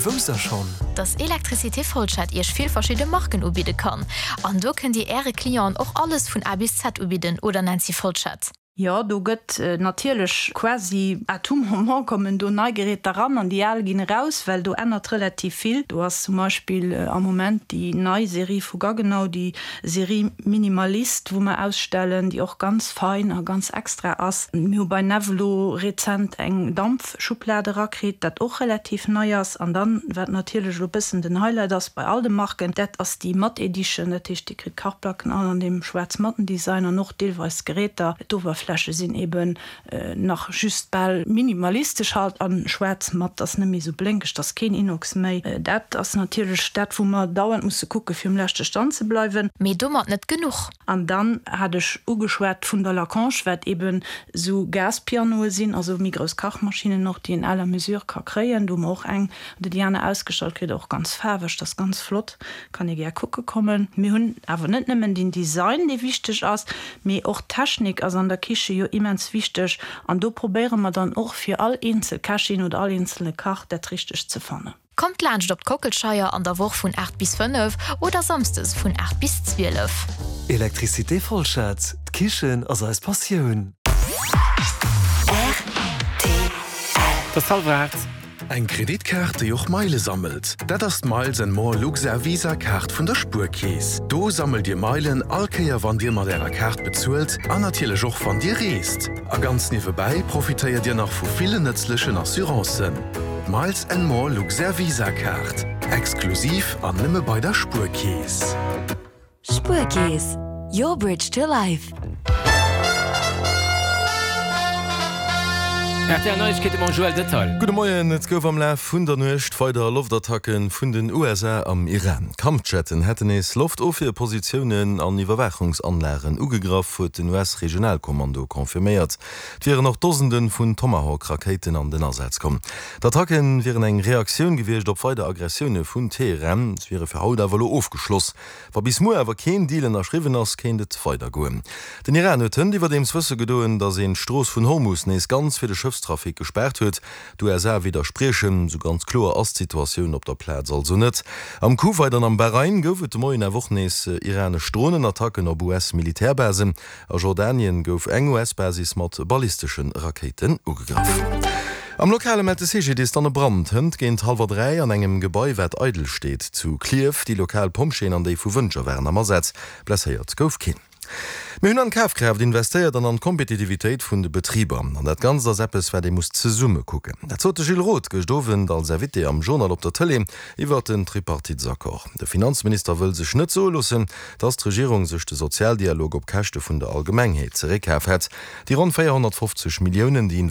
Wousst der schonn? Dass Electricité Folschette Iech vill verschidde Marken ubidde kann? An do kënnt Dir Äre Clienten och alles vun A bis Z ubidden, oder Nancy Folschette? Jo, do gëtt natierlech quasi à tout moment kommen do nei Geräter eran an déi al ginn eraus, well do ännert relativ vill. Do ass zum Beispill am Moment déi nei Serie vu Gaggenau, déi Serie Minimalist, wou mer ausstellen, déi och ganz fein a ganz extra ass. Mir hu bei Nevelo rezent eng Dampfschublad erakritt, dat och relativ nei ass. An dann, wat natierlech elo e bëssen den Highlight ass bei all de Marken, dat ass déi Matt Edition, dat heescht, Dir kritt d'Kachplacken all an deem schwaarz-matten Design an och deelweis d'Geräter. D'Oberfläche sinn eben nach just bal minimalistesch halt an schwaarz-matt, ass net méi esou blénkeg, 't ass keen Inox méi. Dat ass natierlech dat, wou mer dauernd musse kucke fir um leschte Stand ze bleiwen. Mee domat net genuch. An dann hat ech ugeschwat vun der Lacanche, wat eben esou Gaspianoe sinn, also méi grouss Kachmaschinnen och, déi een à la mesure ka kréien. Do hu mer och eng oder déi aner ausgestallt kritt, och ganz faarweg, dat ass ganz flott. Kann ee gär kucke kommen. Mir hunn awer net nëmmen den Design, dee wichteg ass, mee och d'Technik ass an der Kiche jo immens wichteg. An do probéiere mer dann och fir all eenzel Kächin oder all eenzelne Kach dat Richtegt ze fannen. Kommt laanscht op d'Kockelscheier an der Woch vun 8 bis 5 oder Samsdes vun 8 bis 12. Electricité Folschette, d'Kichen ass eis Passioun. Rtl. Et ass hallwer 8. Eng Kreditkaart, déi och Meile sammelt, dat ass d'Miles and More Luxair Visa Kaart vun der Spuerkeess. Do sammelt Dir Meilen all Kéier wann Dir mat Ärer Kaart bezuelt an natierlech och wann Dir reest. A ganz niewebäi profitéiert Dir nach vu villen nëtzlechen Assurancen. D'Miles and More Luxair Visa Kaart, exklusiv an nëmme bei der Spuerkeess. Spuerkeess, your bridge to life. Rtl Neiegkeete mam Joël Detail. Gudde Moien, Et gouf am Laf vun der Nuecht weider Loftattacke vun den USA am Iran. Kampfjetten hätten nees Loftofwierpositiounen an Iwwerwaachungsanlagen ugegraff, huet den US-Regionalkommando confirméiert. Et wieren och Dosende vun Tomahawk-Rakéiten an den Asaz komm. D'Attacke wieren eng Reaktioun gewiescht op weider Aggressioune vun Teheran. Se wiere fir haut awer elo ofgeschloss. Wa bis muer awer keen Deal ënnerschriwwen ass, kéint et weider goen. Den Iran huet hënt iwwerdeems wësse gedoen, datt een d'Strooss vun Hormus nees ganz fir de Schëffstrafic gespaart huet. D'USA widderspriechen. Sou ganz kloer ass d'Situatioun op der Plaz also net. Am Kuwait an am Bahrain gouf et de Moien awer och nees iranesch Dronenattacken op US-Militärbasen. A Jordanien gouf eng US-Basis mat ballistesche Rakéiten ugegraff. Am Lokale mellt de CGDIS dann e Brand hënt géint hallwer 3 an engem Gebai, wat eidel steet zu Klierf. Déi lokal Pompjeeën an déi vu Wëntger waren am Asaz. Blesséiert gouf keen. Mir hunn an d'Kafkraaft investéiert an an d'Kompetitivitéit vun de Betriber. An dat Ganzt ass eppes, wat ee muss zesumme kucken. Dat sot de Gilles Roth gëscht Owend als Invité am Journal op der Tëlee iwwert den Tripartitesaccord. De Finanzminister wëll sech net soe loossen, datt d'Regierung sech de Sozialdialog op Käschte vun der Allgemengheet zeréckkaf hätt. Déi ronn 450 Milliounen, déi.